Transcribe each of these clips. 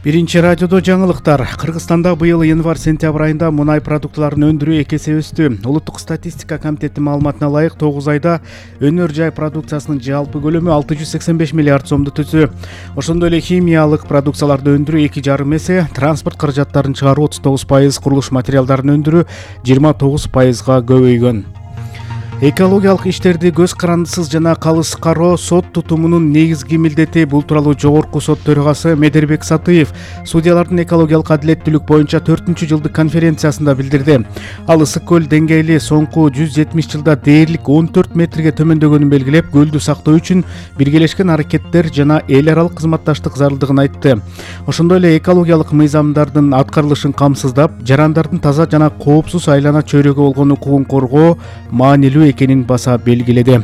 Биринчи радиодо жаңылыктар. Кыргызстанда быйыл январь-сентябрь айында мунай продуктларын өндүрүү 2 эсе өстү. Улуттук статистика комитети маалыматына ылайык 9 айда өнөр жай продукциясынын жалпы көлөмү 685 миллиард сомду түздү. Ошондой эле химиялык продукцияларды өндүрүү 2,5 эсе, транспорт каражаттарын чыгаруу 39%, курулуш материалдарын өндүрүү 29%га көбөйгөн. Экологиялык иштерди көз карандысыз жана калыс кароо сот тутумунун негизги милдети. Бул тууралуу Жогорку сот төрагасы Медербек Сатыев судьялардын экологиялык адилеттүүлүк боюнча 4-жылдык конференциясында билдирди. Ал ысык көл деңгээли соңку 170 жылда дээрлик 14 метрге төмөндөгөнүн белгилеп, көлдү сактоо үчүн биргелешкен аракеттер жана эл аралык кызматташтык зарылдыгын айтты. Ошондой эле экологиялык мыйзамдардын аткарылышын камсыздап, жарандардын таза жана коопсуз айлана чөйрөгө болгон укугун коргоо маанилүү экенин баса белгиледи.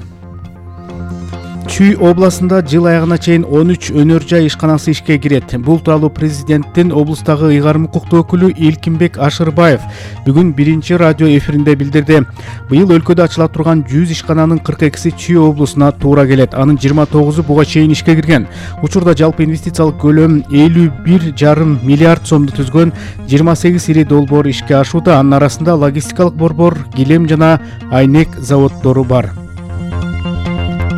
Чүй областында жыл аягына чейин 13 өнөр жай ишканасы ишке кирет. Бул тууралуу президенттин облустагы ыйгарым укуктуу өкүлү Илкимбек Ашырбаев бүгүн биринчи радио эфиринде билдирди. Быйыл өлкөдө ачыла турган 100 ишкананын 42-си Чүй облусуна туура келет. Анын 29-у буга чейин ишке кирген. Учурда жалпы инвестициялык көлөм 51,5 миллиард сомду түзгөн 28 ири долбоор ишке ашууда. Анын арасында логистикалык борбор, килем жана айнек заводдору бар.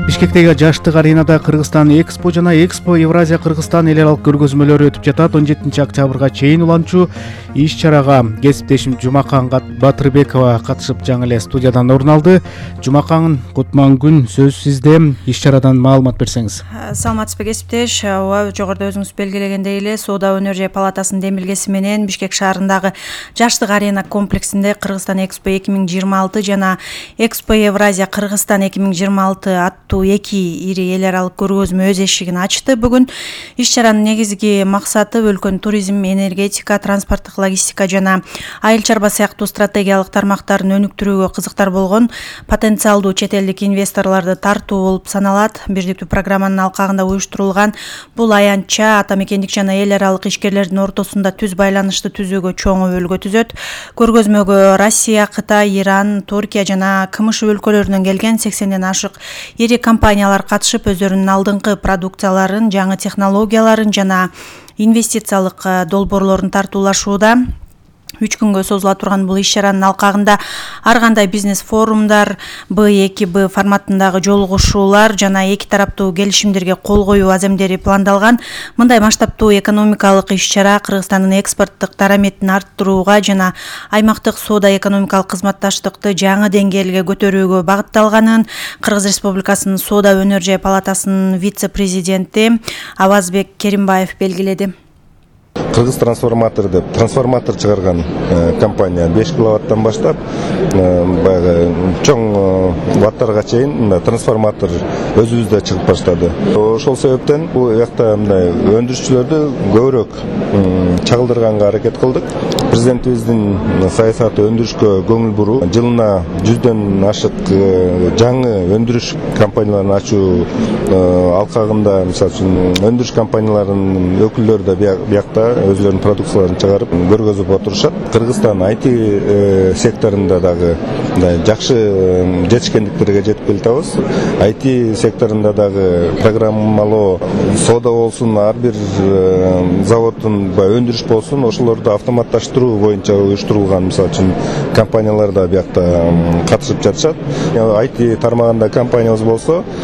Бишкектеги жаштык аренада Кыргызстан Экспо жана Экспо Евразия Кыргызстан эл аралык көргөзмөлөрү өтүп жатат. 17 октябрга чейин уланчу иш-чарага кесиптешим Жумакан Батырбекова катышып жаңы эле студиядан орун алды. Жумакан, кутман күн, сөз сизде. Иш-чарадан маалымат берсеңиз. Саламатсызбы кесиптеш. Жогоруда өзүңүз белгилегендей эле Соода өнөр жай палатасынын демилгеси менен Бишкек шаарындагы жаштык арена комплексинде Кыргызстан Экспо 2026 жана Экспо Евразия Кыргызстан 2026 аттуу 2 ири эл аралык көргөзмө өз эшигин ачты. Бүгүн иш-чаранын негизги максаты өлкөнүн туризм, энергетика, транспорттук логистика жана айыл чарба сыяктуу стратегиялык тармактарын өнүктүрүүгө кызыктар болгон потенциалдуу чет элдик инвесторлорду тартуу болуп саналат. Бирдиктүү программанын алкагында уюштурулган бул аянтча ата мекендик жана эл аралык ишкерлердин ортосунда түз байланышты түзүүгө чоң өбөлгө түзөт. Көргөзмөгө Россия, Кытай, Иран, Туркия жана КМШ өлкөлөрүнөн келген 80ден ашык ири компаниялар катышып, өздөрүнүн алдыңкы продукцияларын, жаңы технологияларын жана инвестициялык долбоорлорун тартуулашууда. 3 күнгө созула турган бул иш-чаранын алкагында ар кандай бизнес форумдар, Б2Б форматындагы жолугушуулар жана эки тараптуу келишимдерге кол коюу аземдери пландалган. Мындай масштабтуу экономикалык иш-чара Кыргызстандын экспорттук дараметин арттырууга жана аймактык соода экономикалык кызматташтыкты жаңы деңгээлге көтөрүүгө багытталганын Кыргыз Республикасынын Соода өнөр жай палатасынын вице-президенти Авазбек Керимбаев белгиледи. Кыргыз трансформатор деп трансформатор чыгарган компания 5 киловаттан баштап баягы чоң ваттарга чейин трансформатор өзүбүздө чыгып баштады. Ошол себептен бул жакта мындай өндүрүшчүлөрдү көбүрөөк чагылдырганга аракет кылдык. Президентибиздин саясаты өндүрүшкө көңүл буруу. Жылына 100дөн ашык жаңы өндүрүш компанияларын ачуу алкагында, мисалы үчүн өндүрүш компанияларынын өкүлдөрү да биякта өзлөрүнүн продукцияларын чыгарып көргөзүп отурушат. Кыргызстан IT секторунда дагы жакшы жетишкендиктерге жетип келатабыз. IT секторунда дагы программалоо, соода болсун, ар бир заводдун өндүрүш болсун, ошолорду автоматташтыруу боюнча уюштурулган, мисалы үчүн компаниялар да биякта катышып жатышат. IT тармагында компаниябыз болсо,